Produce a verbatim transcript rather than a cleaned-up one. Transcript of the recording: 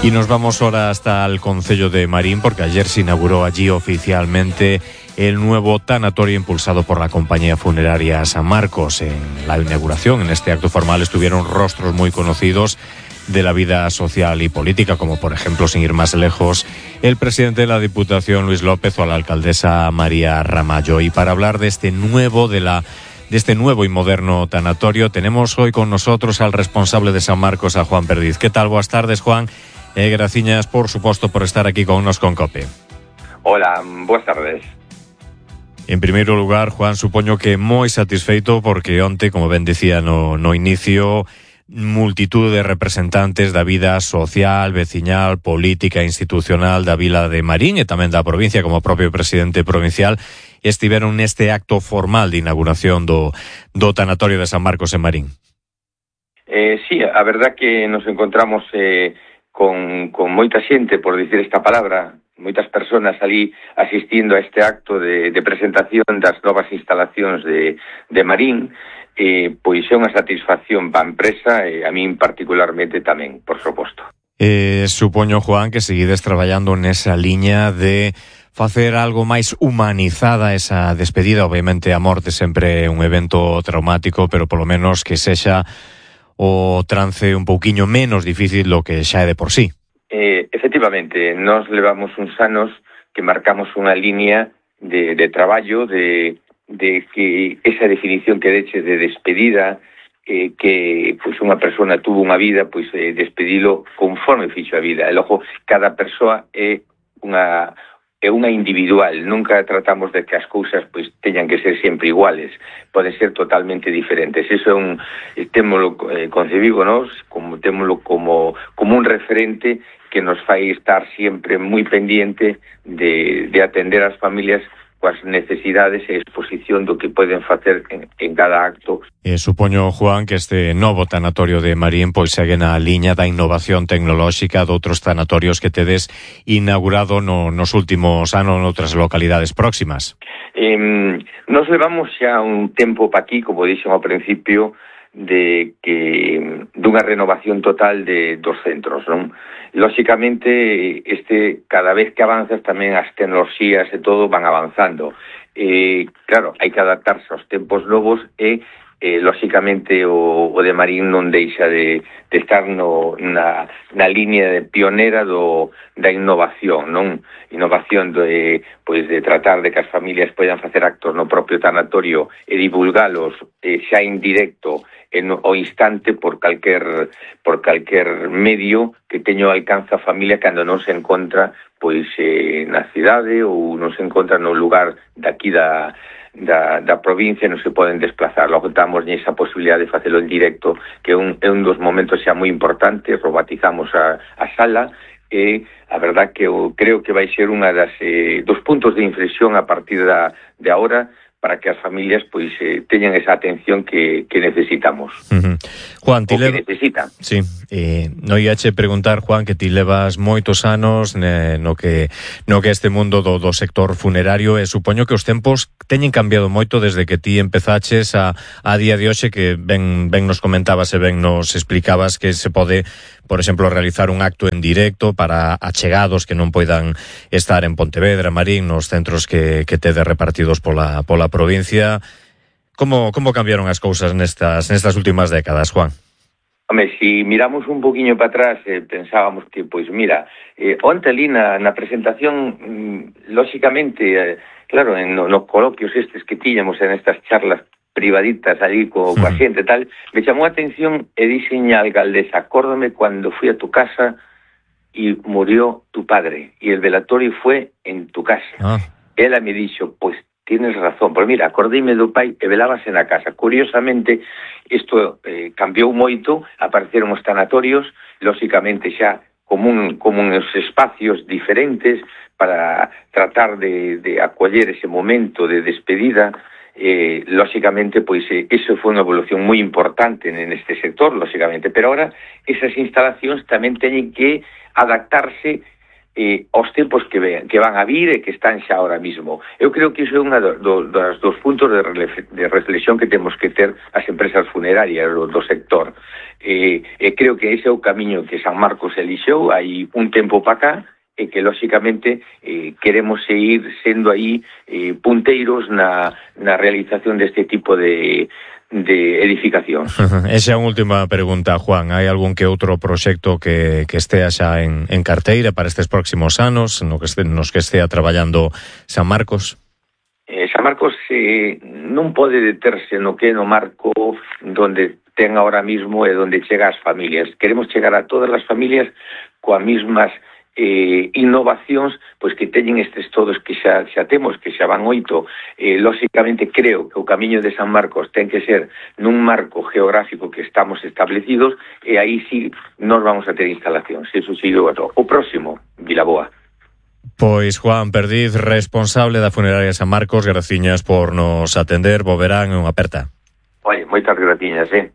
Y nos vamos ahora hasta el concello de Marín, porque ayer se inauguró allí oficialmente el nuevo tanatorio impulsado por la compañía funeraria San Marcos. En la inauguración, en este acto formal, estuvieron rostros muy conocidos de la vida social y política, como por ejemplo, sin ir más lejos, el presidente de la Diputación, Luis López, o la alcaldesa María Ramallo. Y para hablar de este nuevo, de la de este nuevo y moderno tanatorio, tenemos hoy con nosotros al responsable de San Marcos, a Juan Perdiz. ¿Qué tal? Buenas tardes, Juan. Eh, graciñas, por suposto, por estar aquí con nos con COPE. Hola, buenas tardes. En primeiro lugar, Juan, supoño que moi satisfeito porque onte, como ben dicía no, no inicio, multitud de representantes da vida social, veciñal, política e institucional da vila de Marín e tamén da provincia, como propio presidente provincial, estiveron neste acto formal de inauguración do, do tanatorio de San Marcos en Marín. Eh, sí, a verdad que nos encontramos eh, con, con moita xente, por dicir esta palabra, moitas persoas ali asistindo a este acto de, de presentación das novas instalacións de, de Marín. Eh, pois é unha satisfacción para a empresa e a min particularmente tamén, por suposto. Eh, supoño, Juan, que seguides traballando nesa liña de facer algo máis humanizada esa despedida. Obviamente a morte sempre é un evento traumático, pero polo menos que sexa o trance un pouquiño menos difícil do que xa é de por sí. Eh, efectivamente, nós levamos uns anos que marcamos unha liña de, de traballo, de, de que esa definición que deche de despedida, eh, que pois unha persona tuvo unha vida, pois eh, despedilo conforme fixo a vida. E logo, cada persoa é unha é unha individual, nunca tratamos de que as cousas pois teñan que ser sempre iguales, poden ser totalmente diferentes. Eso é un témolo eh, concebido nós, como témolo como como un referente que nos fai estar sempre moi pendiente de, de atender as familias coas necesidades e exposición do que poden facer en, en cada acto. Eh, supoño, Juan, que este novo tanatorio de Marín pois segue na liña da innovación tecnolóxica de outros tanatorios que tedes inaugurado no, nos últimos anos noutras localidades próximas. Eh, nos levamos xa un tempo pa aquí, como dixen ao principio, de que dunha renovación total de dos centros, non? Lóxicamente, este cada vez que avanzas tamén as tecnoloxías e todo van avanzando. Eh, claro, hai que adaptarse aos tempos novos e eh, lóxicamente o, o de Marín non deixa de, de estar no, na, na línea de pionera do, da innovación, non? Innovación de, pois, de tratar de que as familias poidan facer actos no propio tanatorio e divulgalos eh, xa en directo en o instante por calquer por calquer medio que teño alcance a familia cando non se encontra pois eh, na cidade ou non se encontra no lugar daqui da Da, da provincia, non se poden desplazar. Logo damos esa posibilidade de facelo en directo, que é un, é un dos momentos xa moi importantes. Robotizamos a, a sala e a verdad que eu creo que vai ser unha das eh, dos puntos de inflexión a partir da, de ahora, para que as familias pois eh, teñan esa atención que, que necesitamos. Uh-huh. Juan, ti o que leva... necesitan. Sí, eh, no iache preguntar, Juan, que ti levas moitos anos ne, no que no que este mundo do, do sector funerario, e supoño que os tempos teñen cambiado moito desde que ti empezaches a, a día de hoxe, que ben, ben nos comentabas e ben nos explicabas que se pode, por exemplo, realizar un acto en directo para achegados que non poidan estar en Pontevedra, Marín, nos centros que, que tedes repartidos pola, pola provincia. Como, como cambiaron as cousas nestas, nestas últimas décadas, Juan? Home, si miramos un poquinho para atrás, eh, pensábamos que, pois, mira, eh, onte ali na, na presentación, mm, lóxicamente, eh, claro, en no, nos coloquios estes que tiñamos en estas charlas privaditas ali co, coa xente e tal, me chamou a atención e dixen a alcaldesa, acórdame cando fui a tu casa e murió tu padre, e el velatorio fue en tu casa. Ah. Ela me dixo, pois, tienes razón, pero mira, acordeime do pai e velábase na casa. Curiosamente, isto eh, cambiou moito, apareceron os tanatorios, lóxicamente xa como, un, como uns espacios diferentes para tratar de, de acoller ese momento de despedida. Eh, lóxicamente, pois, eh, eso foi unha evolución moi importante neste sector, lóxicamente, pero ahora esas instalacións tamén teñen que adaptarse eh, aos tempos que, ven, que van a vir e que están xa ahora mismo. Eu creo que iso é unha do, do, dos dos puntos de, rele, de reflexión que temos que ter as empresas funerarias do, do sector. E, e creo que ese é o camiño que San Marcos elixeu hai un tempo para cá, e que, lóxicamente, eh, queremos seguir sendo aí eh, punteiros na, na realización deste tipo de, de edificacións. Esa é a última pregunta, Juan. Hai algún que outro proxecto que, que estea xa en, en carteira para estes próximos anos, no que este, nos que estea traballando San Marcos? Eh, San Marcos eh, non pode deterse no que é no marco donde ten ahora mismo e donde chega as familias. Queremos chegar a todas as familias coas mismas eh, innovacións pois que teñen estes todos que xa, xa temos, que xa van oito. Eh, lóxicamente creo que o camiño de San Marcos ten que ser nun marco geográfico que estamos establecidos, e aí sí nos vamos a ter instalacións. Eso sí, o, o próximo, Vilaboa. Pois Juan Perdiz, responsable da funeraria San Marcos, graciñas por nos atender. Bo verán e unha aperta. Oye, moitas graciñas, eh.